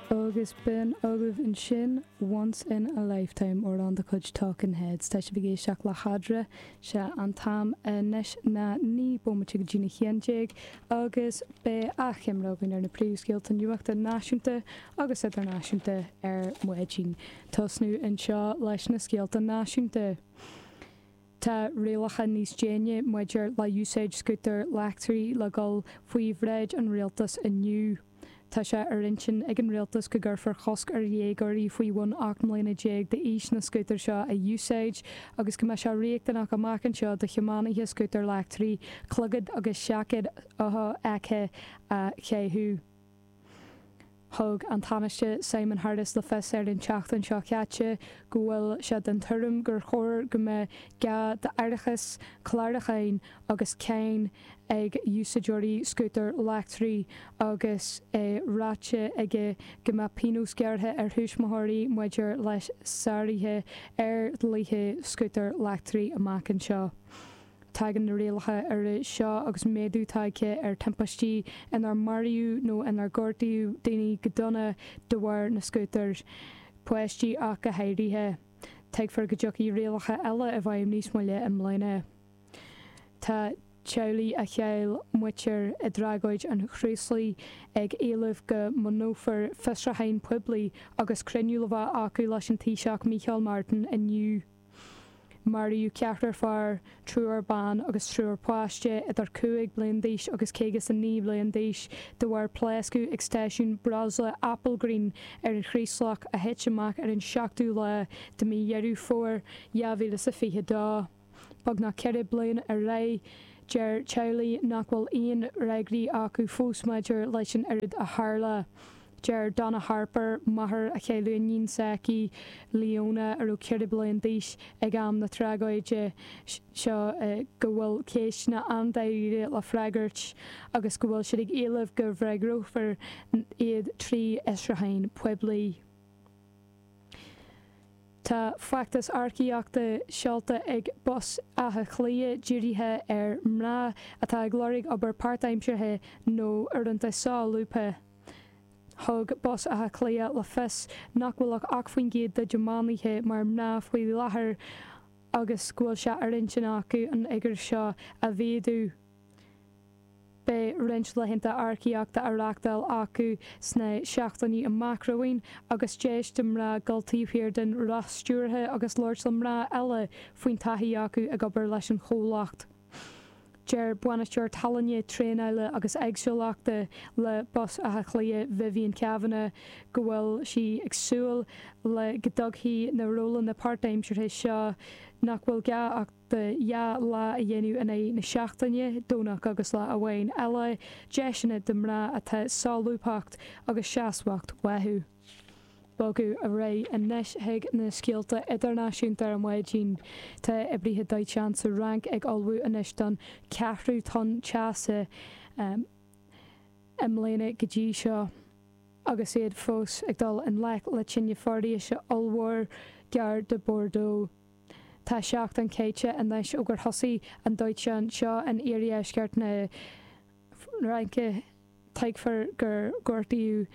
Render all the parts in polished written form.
Agus b'in agaibh ansin Once in a Lifetime, amhrán de chuid Talking Heads. Tá sibh ag éisteacht le hEadra. Sé an t-am anois ná 9 bomaite go dtí'n 11 agus beidh achoimre againn ar na príomhscéalta nuachta náisiúnta agus idirnáisiúnta ar maidin. Tosnú anseo leis na scéalta náisiúnta. Tá rialacha níos déine maidir le úsáid scútair leictrigh le dhul faoi bhráid an rialtais inniu. Tá sé ar intinn ag an rialtas go gcuirfear cosc ar dhéagóirí faoi bhun 18 mbliana d'aois na scútair seo a úsáid agus go mbeidh sé riachtanach amach anseo do thiománaithe scútair leictrigh clogad agus seaicéad shofheicthe a chaitheamh. Thug an Tánaiste Simon Harris le fios ar an tseachtain seo caite go bhfuil sé den tuairim gur chóir go mbeadh gá d'árachas, clárúcháin agus cáin ag úsáideoirí scútair leictrigh agus é ráite aige go mbeadh pionós gearrtha ar thuismitheoirí maidir le sáruithe ar dhlíthe scútair leictrigh amach anseo. Tagann na rialacha úra seo agus méadú tagtha ar timpistí inar maraíodh nó inar gortaíodh daoine go dona de bharr na scútar, páistí ach go háirithe. Tuigfear go dtiocfaidh rialacha eile i bhfeidhm níos moille i mbliana. Tá teaghlaigh a chaill muintir i dtragóid an Chraoslaigh ag éileamh go mbunófar fiosrúchán poiblí agus cruinniú le bheith acu leis an Taoiseach Micheál Martin inniu. Maraíodh ceathrar fear, triúr ban agus triúr páiste idir 5 bliain d'aois agus 59 bliain d'aois de bharr pléascadh ag stáisiún breosla Applegreen ar an Chraoslach a thit amach ar an 7ú lá de mhí Dheireadh Fómhair 2022. Beagnach 4 bliana ar aghaidh, deir teaghlaigh nach bhfuil aon fhreagraí acu fós maidir leis an rud a tharla. Deir Donna Harper, máthair a chaill iníon s'aici, Leona, a raibh 4 bliana d'aois ag am na tragóide seo, go bhfuil ceisteanna an-dáiríre le freagairt agus go bhfuil siad ag éileamh go bhfreagrófar iad trí fhiosrúchán poiblí. Tá feachtas earcaíochta seolta ag Bus Átha Cliath dírithe ar mhná atá ag lorg obair páirtaimseartha nó uaireanta solúbtha. Thug Bus Átha Cliath le fios nach bhfuil ach 8% dá dtiománaithe mar mná faoi láthair agus go bhfuil sé ar intinn acu an fhigiúr seo a mhéadú. Beidh roinnt laethanta earcaíochta á reáchtáil acu sna seachtainí amach romhainn agus deis do mhná dul taobh thiar den roth stiúrtha agus labhairt le mná eile faoin taithí acu ag obair leis an chomhlacht. Deir Bainisteoir Tallainne, Traenála agus Éagsúlachta le Bus Átha Cliath, Vivian Kavanagh, go bhfuil sí ag súil le go dtógfaidh na rólanna páirtaimseartha seo nach bhfuil gá ach do dhá lá a dhéanamh in aghaidh na seachtaine, Domhnach agus lá amháin eile, deiseanna do mhná atá solúbthacht agus seasmhacht uathu. Bogadh ar aghaidh anois chuig na scéalta idirnáisiúnta ar maidin. Tá oibrithe dóiteáin sa Fhrainc ag ullmhú anois don cheathrú tonn teasa i mbliana go dtí seo agus iad fós ag dul i ngleic le tine foraoise ollmhór gar do Bordeaux. Tá seachtain caite anois ó gur thosaigh an dóiteán seo in iardheisceart na Fraince. Tuigfear gur gortaíodh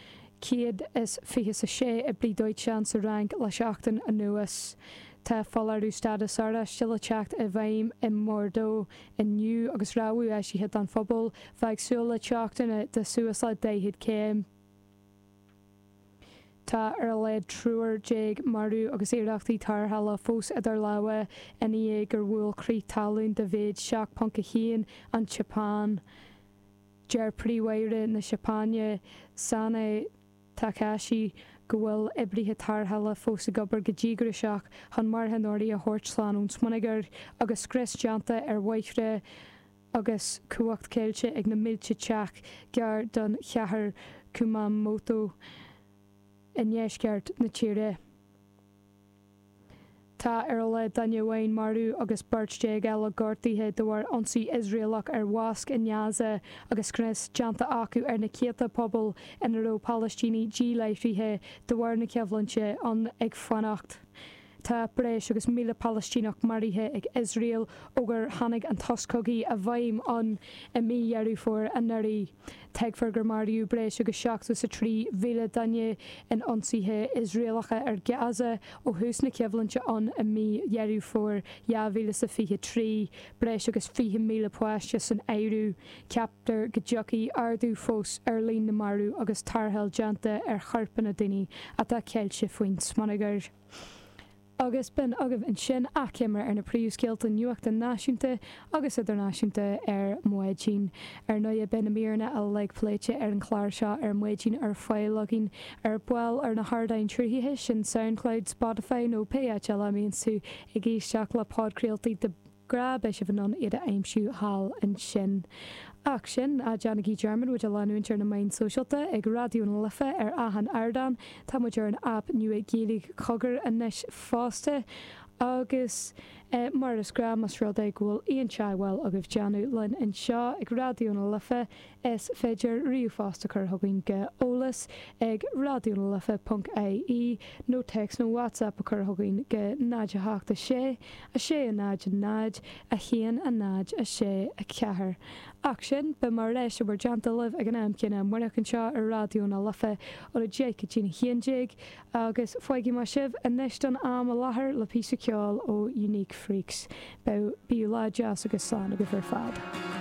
126 oibrí dóiteáin sa Fhrainc le seachtain anuas. Tá foláireamh stádas oráiste le teacht i bhfeidhm i mBordeaux inniu agus rabhadh eisithe don phobal bheith ag súil le teochtanna de suas le 40 céim. Tá ar a laghad triúr marbh agus iarrachtaí tarrthála fós idir lámha i ndiaidh gur bhuail crith talún de mhéid 7.1 an tSeapáin. Deir Príomh-Aire na Seapáine, Sanae Takaichi, go bhfuil oibrithe tarrthála fós ag obair go díograiseach chun marthanóirí a thabhairt slán ón smionagar agus scrios déanta ar bhóithre agus cumhacht caillte ag na mílte teach gar don chathair Kumamoto i ndeisceart na tíre. Tá ar a laghad duine amháin marbh agus beirt eile gortaithe de bharr ionsaí Iosraelach ar mhosc i nGaza agus scrios déanta acu ar na céadta puball ina raibh Palaistínigh díláithrithe de bharr na coimhlinte ann ag fanacht. Tá breis agus 1,000 Palaistíneach maraithe ag Iosrael ó gur tháinig an sos cogaidh i bhfeidhm ann i mí Dheireadh Fómhair anuraidh. Tuigfear gur maraíodh breis agus 73,000 duine in ionsaithe Iosraelacha ar Gaza ó thús na coimhlinte ann i mí Dheireadh Fómhair 2023, breis agus 20,000 páiste san áireamh. Ceaptar go dtiocfaidh ardú fós ar líon na marbh agus tarrtháil déanta ar choirpeanna daoine atá ceilte faoin smionagar. Agus b'in agaibh ansin achoimre ar na príomhscéalta nuachta náisiúnta agus idirnáisiúnta ar maidin. Ar ndóigh, beidh na míreanna uilig pléite ar an chlár seo ar maidin ar fáil againn ar ball ar na hardáin sruthaithe sin Soundcloud, Spotify nó pé áit eile a mbíonns tú ag éisteacht le podchraoltaí de ghnáth, beidh sibh in ann iad a aimsiú thall ansin. Ach sin, ná déanaigí dearmad muid a leanúint ar na meáin sóisialta ag Raidió na Life ar achan ardán. Tá muid ar an aip nua Gaeilge Cogar anois fosta. Agus mar is gnáth, más rud é go bhfuil aon teagmháil agaibh déanamh linn anseo ag Raidió na Life, Is féidir ríomhphost a chur chugainn go eolas ag raidionalife.ie nó téacs nó WhatsApp a chur chugainn go 0 8 6 6 0 0 1 0 6 4. Ach sin, beidh mé ar ais i bhur dteannta libh ag an am céanna amárach anseo ar Raidió na Life ón 10 go dtí'n 11. Agus fágfaidh mé sibh anois don am i láthair le píosa ceoil ó Unique Freaks. Bíodh lá deas agus slán agaibh ar fad.